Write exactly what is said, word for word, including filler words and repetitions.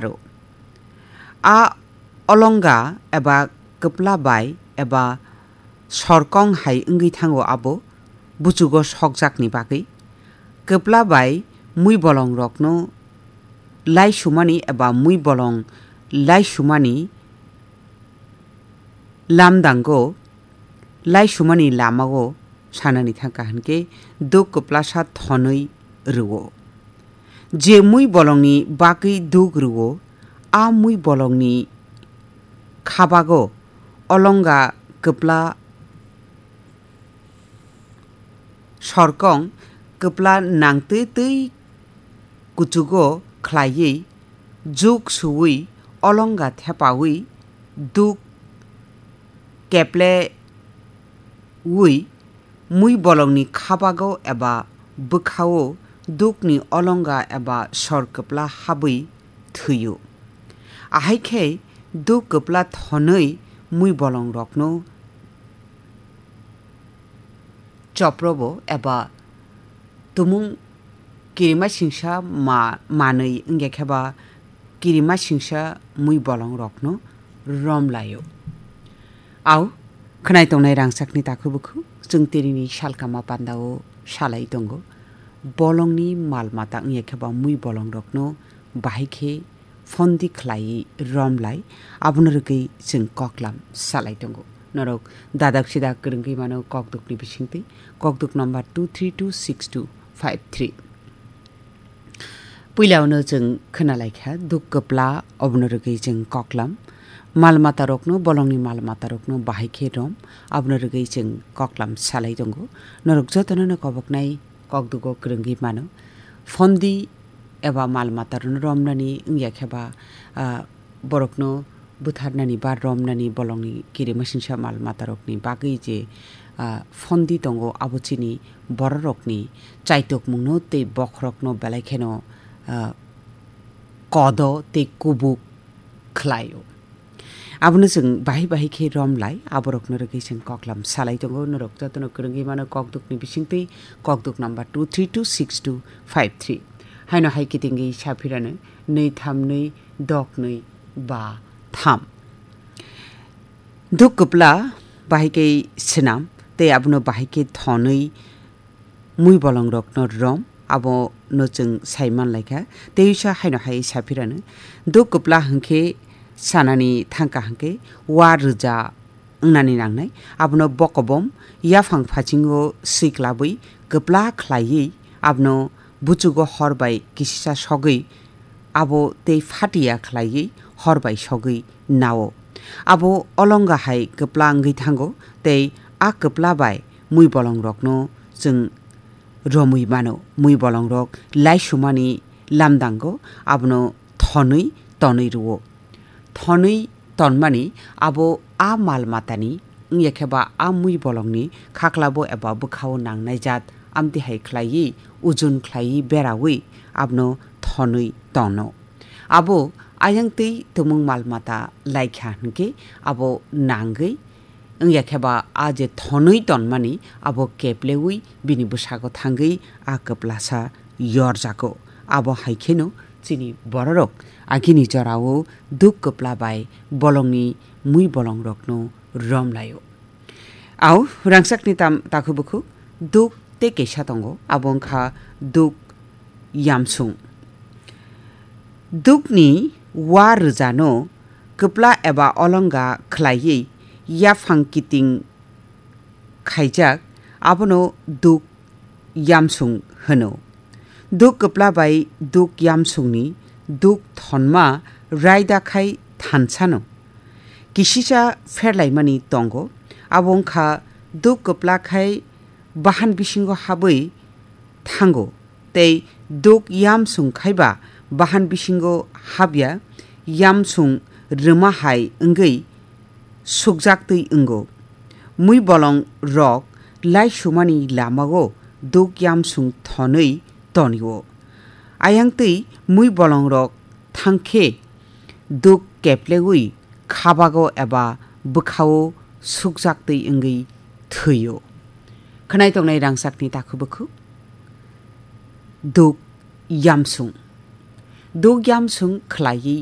rw. A olonga eba kwpla bai eba sorkong hai wngwi thango abo buchugo sokjakni bagwi. Kwpla bai mui bolongrokno laisumani eba mui bolong laisumani lamdango, laisumani lamao sanani thangkha hinkhe duk kwplasa thonwi rwo. Je mui bolongni bagwi duk rwo, a mui bolongni khabago olonga kwpla sorkong kwpla nangtwi twi kuchugo khlaiwi, juk suwi, olonga thepawi, duk keplewi, mui bolongni khabago eba bwkhao dukni olonga eba sor kwpla habwi thwio. Ahai khe duk kwpla thonwi mui bolongrokno choprobo eba tumung kirima singsa ma-, manwi wngya khe ba kirima singsa mui bolongrokno romlaio. Au, khwnai tongnai rangchakni takhu bukhu chwng tinini salkama pandao salai tongo. Bolongni mal mata wngya khe ba mui bolongrokno bahai khe phondi khlaiwi romlai, abono rwgwi chwng koklam salai tongo. Norok dadak sidak kwrwngwi mano kokdukni bisingtwi, kokduk number two three two six two five three. Puilaono chwng khwnalaikha duk kwpla, obono rwgwi chwng koklam. Mal matarokno, bolongni mal matarokno bahai khe rom, abono rwgwi chwng koklam salai tongo. Norok jotono no koboknai kokdugo kwrwngwi mano. Phondi eba mal matarokno romnani wngya khe ba, ah, borokno butharnani ba romnani bolongni kirima singsa mal matarokni bagwi je, ah, phondi tongo, abo chini bororokni chaitokmungno tei bokhorokno belai kheno, ah, kodo tei kubuk khlaio. Abono chwng bahai bahai khe romlai, aborokno rwgwi chwng koklam salai tongo. Norok jotono kwrwngwi mano kokdukni bisingtwi, kokduk number two three two six two five three. Haino hai kitingwi saphirano nwi tham nwi dok nwi ba tham. Duk kwpla bahai khe swnam tei abono bahai khe thonwi mui bolongrokno rom, abono chwng sai manlaikha. Tei uisa haino hai saphirano, duk kwpla hwnkhe sanani thangkha hwnkhe wa rwja wngnani nangnai. Abono bokobom yaphang phasingo swiklabwi kwpla khlaiwi abono buchugo hor bai kisisa sogwi abo tei phatiya khlaiwi hor bai sogwi nao. Abo olonga hai kwpla wngwi thango tei a kwpla bai mui bolongrokno chwng romwi mano. Mui bolongrok laisumani lamdango abono thonwi tonwi rwo. Thonwi tonmani abo a mal matani wngya khe ba a mui bolongni khaklabo eba bwkhao nangnai jat amtwi hai khlaiwi ujun khlaiwi berawi abono thonwi tono. Abo ayang twi tumung mal mata laikha hwnkhe abo nangwi wngya khe ba a je thonwi tonmani abo keplewi bini bwsago thangwi a kwplasa yorjago. Abo hai kheno chini bororok agini jorao duk kwpla bai bolongni mui bolongrokno romlaio. Au, rangchakni tam-, takhu bukhu duk tei kaisa tongo, abo wngkha duk yamsung. Dukni wa rwjano kwpla eba olonga khlaiwi yaphang kiting khaijak, abono duk yamsung hwno. Duk kwpla bai duk yamsungni duk thonma raida khai thansano kisisa pherlaimani tongo, abo wngkha duk kwpla khai bahan bisingo habwi thango, tei duk yamsung khai ba bahan bisingo habya, yamsung rwma hai wngwi sukjaktwi wngo. Mui bolong rok laisumani lamao duk yamsung thonwi tonio. Ayang twi mui bolong rok thangkhe duk keplewi khabago eba bwkhao sukjaktwi wngwi thwio. Khwnai tongnai rangchakni takhu bukhu duk yamsung. Duk yamsung khlaiwi